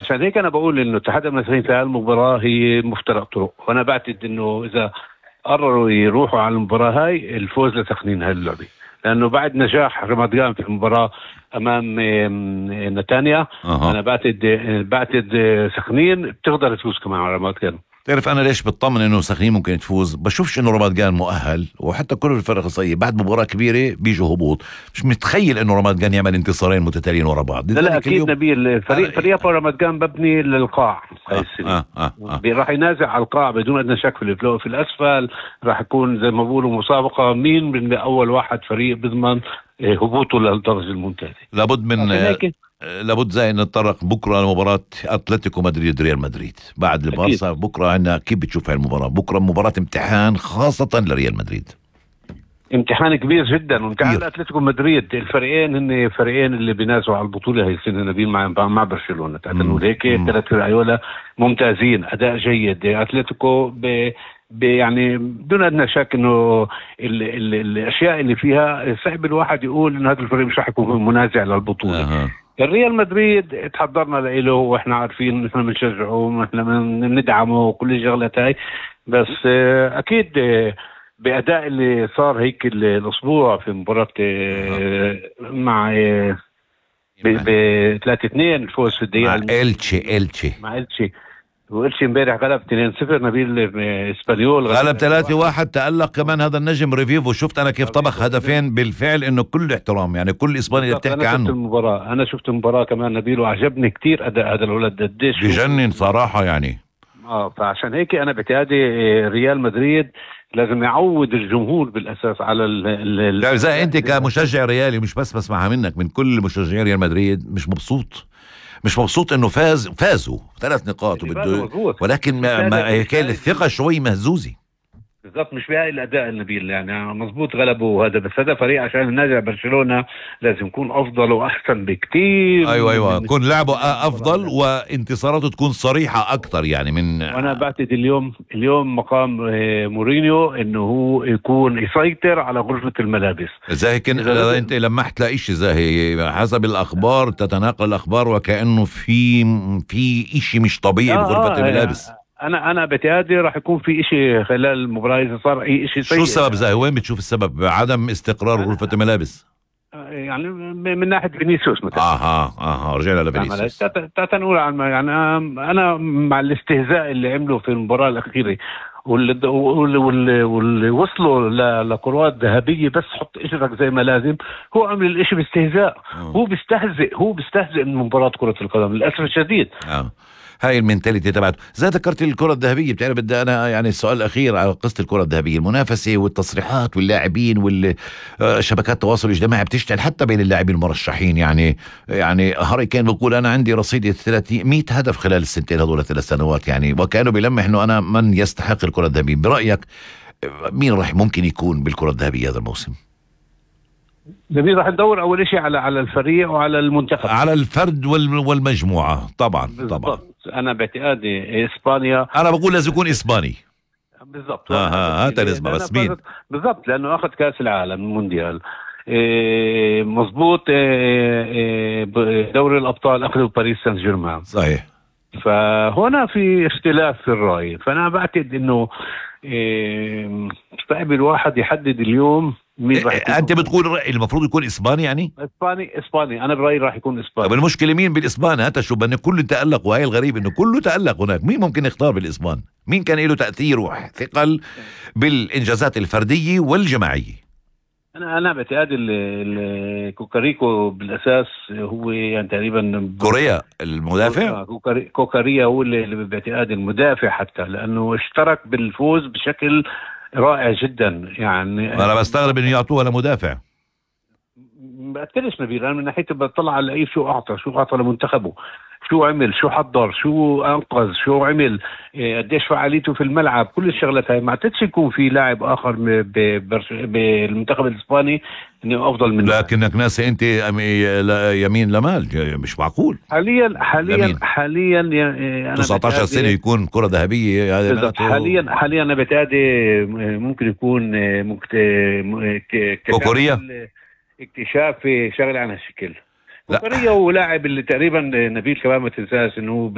فعشان هيك انا بقول انه اتحاد المنافسين في هالمباراه هي مفترق طرق، وانا بعتقد انه اذا قرروا يروحوا على المباراه هاي الفوز لسخنين هاللعبه، لانه بعد نجاح رمضان في المباراه امام نتانيا انا بعتقد سخنين بتقدر تفوز كمان على رمضان. تعرف أنا ليش بتطمن إنه سخنين ممكن تفوز؟ بشوفش إنه رمضان مؤهل، وحتى كل الفرق الصغيرة بعد مباراة كبيرة بيجوا هبوط. مش متخيل إنه رمضان يعمل انتصارين متتاليين ورا بعض. لا أكيد نبيل، فريق رمضان مبني للقاع هاي السنة. راح ينازع على القاع بدون أدنى شك. في الأسفل راح يكون زي ما بقولوا مسابقة مين من أول واحد فريق بضمن هبوطه للدرجة الممتازة. لابد زي نتطرق بكره لمباراه اتلتيكو مدريد ريال مدريد بعد البارسا. بكره عندنا كيف بتشوف هاي المباراه؟ بكره مباراه امتحان خاصه لريال مدريد، امتحان كبير جدا وامتحان اتلتيكو مدريد. الفريقين هن فريقين اللي بينازعوا على البطوله هي السنه نبيل مع برشلونه. تعتقد هيك ثلاث فرق ممتازين، اداء جيد. اتلتيكو يعني بدون ادنى شك انه الاشياء اللي فيها صعب الواحد يقول انه هذا الفريق مش راح يكون منازع للبطوله. الريال مدريد تحضرنا له واحنا عارفين نحن بنشجعه ونحن بندعمه وكل الشغلات هاي، بس اكيد بأداء اللي صار هيك الاسبوع في مباراة مع ب 3-2 الفوز في الدقيقة مع إلتشي وإلتشي امبارح غلب 2-0 نبيل اسبانيول غلب 3-1. تألق كمان هذا النجم ريفيفو. شفت انا كيف طبخ هدفين بالفعل. انه كل احترام يعني كل اسبانيا بتحكي عنه. انا شفت المباراة كمان نبيل وعجبني كتير اداء هذا الولد قديش بجنن صراحة يعني. فعشان هيك انا بتعادي ريال مدريد لازم يعود الجمهور بالاساس على لا زي انت كمشجع ريالي مش بس بسمعها منك، من كل مشجعي ريال مدريد مش مبسوط انه فازوا 3 نقاط ولكن كان الثقة شوي مهزوزة بالضبط. مش بهاي الاداء النبيل يعني مزبوط غلبوا هذا، بس هذا فريق عشان ينازع برشلونة لازم يكون افضل واحسن بكتير. ايوه يكون لعبه افضل وانتصاراته تكون صريحة اكتر يعني من. وانا بعتقد اليوم مقام مورينيو انه هو يكون يسيطر على غرفة الملابس. زي كده انت لمحت لإشي زي حسب الاخبار تتناقل الاخبار وكأنه في اشي مش طبيعي بغرفة الملابس. انا بتعادي راح يكون في اشي خلال المباراة اذا صار اي اشي سيء. شو السبب زي وين بتشوف السبب؟ عدم استقرار غرفة الملابس يعني من ناحية فينيسيوس مثلا. رجعنا لفينيسيوس. نقول يعني انا مع الاستهزاء اللي عمله في المباراة الأخيرة واللي وصلوا لكرات ذهبية بس حط اجرك زي ما لازم. هو عمل الاشي باستهزاء. هو بيستهزئ من مباراة كرة القدم للأسف الشديد. هاي المنتاليتي تبعته. زي ذكرت الكرة الذهبية، بتعرف بدي أنا يعني السؤال الأخير على قصة الكرة الذهبية، المنافسة والتصريحات واللاعبين والشبكات التواصل الاجتماعي بتشتغل حتى بين اللاعبين المرشحين. يعني هاري كين بيقول أنا عندي رصيد 100 هدف خلال السنتين هذول 3 سنوات يعني، وكانوا بيلمح إنه أنا من يستحق الكرة الذهبية. برأيك مين راح ممكن يكون بالكرة الذهبية هذا الموسم؟ نبي راح ندور اول شيء على الفريق وعلى المنتخب، على الفرد والمجموعه. طبعا انا باعتقادي اسبانيا. انا بقول لازم يكون اسباني بالضبط. هات الاسم بس مين بالضبط لانه اخذ كاس العالم المونديال مزبوط. دوري الابطال اخذوا باريس سان جيرمان صحيح. فهنا في اختلاف في الراي. فانا بعتقد انه صعب الواحد يحدد اليوم مين راح يكون. انت بتقول المفروض يكون اسباني يعني؟ اسباني انا برايي راح يكون اسباني. طب المشكله مين بالاسبان؟ هات شو بان كله تألق، وهي الغريب انه كله تألق هناك. مين ممكن يختار بالاسبان؟ مين كان له تأثير وثقل بالانجازات الفرديه والجماعيه؟ انا بعتقد كوكاريكو بالاساس هو يعني تقريبا كوريا المدافع. كوكاريا هو اللي بعتقد المدافع حتى لانه اشترك بالفوز بشكل رائع جدا يعني. انا بستغرب انه يعطوها لمدافع. بأكدش نبيل. انا من ناحية بطلع على اي شو اعطى لمنتخبه، شو عمل، شو حضر، شو انقذ، شو عمل، قديش فعاليته في الملعب. كل الشغلات هاي ما اعتقدش يكون في لاعب اخر بالمنتخب الاسباني انه افضل منه. لكنك ناسي انت يمين لمال، مش معقول. حاليا أنا 19 سنة يكون كرة ذهبية. حاليا انا بتعادي ممكن يكون كوكوريا اكتشاف شغله عن هالشكل. كوكوريا ولاعب اللي تقريبا نبيل كمان ما تنساش انه